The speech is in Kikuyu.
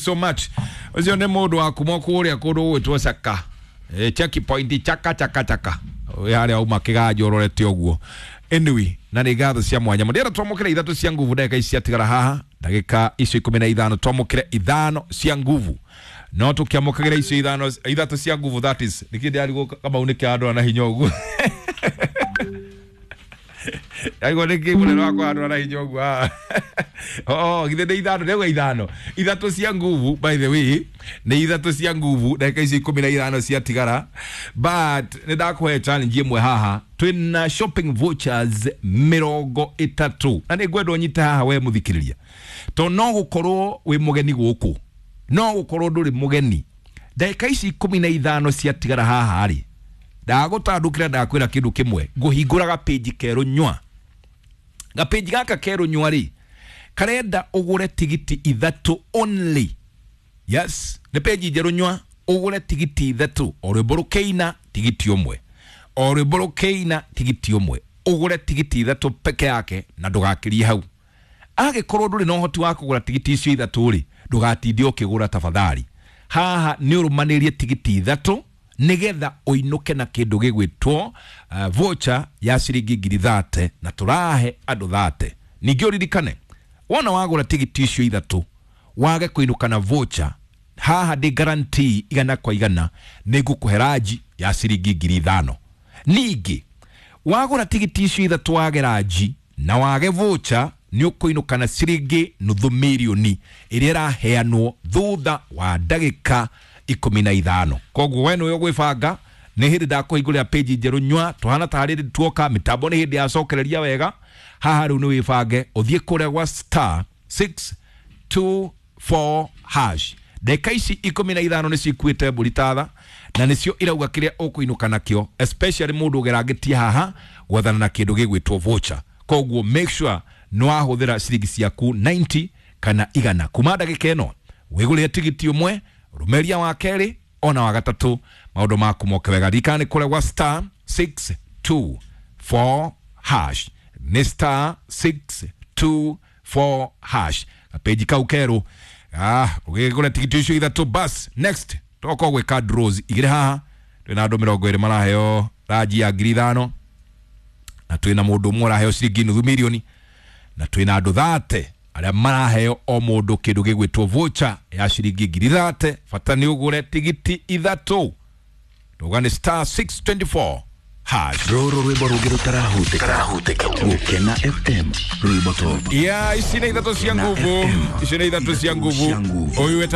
so much. Ucio nĩ mũndũ wa kuma kũrĩa kũndũ gũgwĩtwo Caka. Check point chaka chaka chaka. Harĩa uma kĩganjo ũrorete ũguo. Anyway, na nĩ ngatho cia mwanya. Mũndĩra twamũkĩre ithatũ cia nguvu ndagĩka ici ciatigara haha. Ndagĩka icio 15 twamũkĩre ithano cia nguvu. No tũkĩamũkagĩra icio ithano ithatũ cia nguvu, that is. Nĩkĩ ndĩrarigwo Kamau nĩkĩ andũ na hinya ũguo. Aigua nĩkĩ mũnene wakwa andũ na hinya ũguo haha. Oh, githĩ nĩ ithano, ndauga ithano. Ithatũ cia nguvu, by the way, nĩ ithatũ cia nguvu ndagĩka icio 15 ciatigara. But nĩ ndakũhe challenge ĩmwe haha. Twĩna shopping vouchers 30. Na nĩ ngwenda ũnyite haha we mũthikĩrĩria. To no gũkorwo wĩ mũgeni gũkũ. No gũkorwo ndũrĩ mũgeni. Ndagĩka ici 15 ciatigara haha rĩ. Ndagũtandũkĩra ndakwĩra kĩndũ kĩmwe. Ngũhingũra gapĩnji kerũ nywa. Gapĩnji gaka kerũ nywa rĩ, karenda ũgũre tigiti ithatũ only. Yes, nĩ page njerũ nywa, ũgũre tigiti ithatũ, o rwĩmbo rũkĩina tigiti ũmwe, o rwĩmbo rũkĩina tigiti ũmwe, ũgũre tigiti ithatũ peke yake na ndũgakĩrie hau. Angĩkorwo ndũrĩ na ũhoti wa kũgũra tigiti icio ithatũ rĩ, ndũgatinde ũkĩgũra tafadhali. Haha nĩ ũrũmanĩrie tigiti ithatũ nĩgetha ũinũke na kĩndũ gĩgwĩtwo voucher ya ciringi 30,000 na tũrahe andũ 30. Ningĩ ũririkane wona wagũra tigiti icio ithatũ wage kũinũka na voucher, haha ndĩ guarantee 100% nĩ ngũkũhe ranji ya ciringi 5,000. Ningĩ wagũra tigiti icio ithatũ wage ranji na wage voucher, nĩ ũkũinũka na ciringi 500,000 ĩrĩa ĩraheanwo thutha wa ndagĩka 15. Koguo we nĩwe ũgwĩbanga. Nĩ hĩndĩ ndakũhingũrĩra page njerũ nywa, tũhana tarĩ tuoka mĩtambo nĩ hĩndĩ yacokereria wega. Haha rĩu nĩ wĩbange ũthiĩ kũrĩa gwa star 624 hash. Ndagĩka ici 15 nĩcio ikuĩte mbũri tatha na nĩcio irauga kĩrĩa ũkũinũka nakĩo, especially mũndũ ũgerangĩtie haha gwethana na kĩndũ gĩgwĩtwo voucher. Koguo make sure nĩ wahũthĩra ciringi ciaku 90 kana 100 kuma ndagĩka ĩno wĩgũrĩre tigiti ũmwe, rũmeria wa kerĩ ona wa gatatũ, maũndũ maku moke wega. Ririkana nĩ kũrĩa gwa star 624 hash, nĩ star 624 hash, gapeji kau kerũ. Ũgĩgũra tigiti icio ithatũ bas. Next tokorwo gwĩka draws igĩrĩ haha. Twĩna andũ 20 maraheo ranji ya 5,000 na twĩna mũndũ ũmwe ũraheo ciringi 500,000 na twĩna andũ 30 arĩa maraheo o mũndũ kĩndũ gĩgwĩtwo voucher ya ciringi 30,000. Bata nĩ ũgũre tigiti ithatũ. Ndauga nĩ star 624 hash. Rũrũ rwĩmbo rũngĩ rũtarahutĩka Gũkena FM rwĩmbo top. Ya ici nĩ ithatũ cia nguvu, ici nĩ ithatũ cia nguvu. Ũyũ.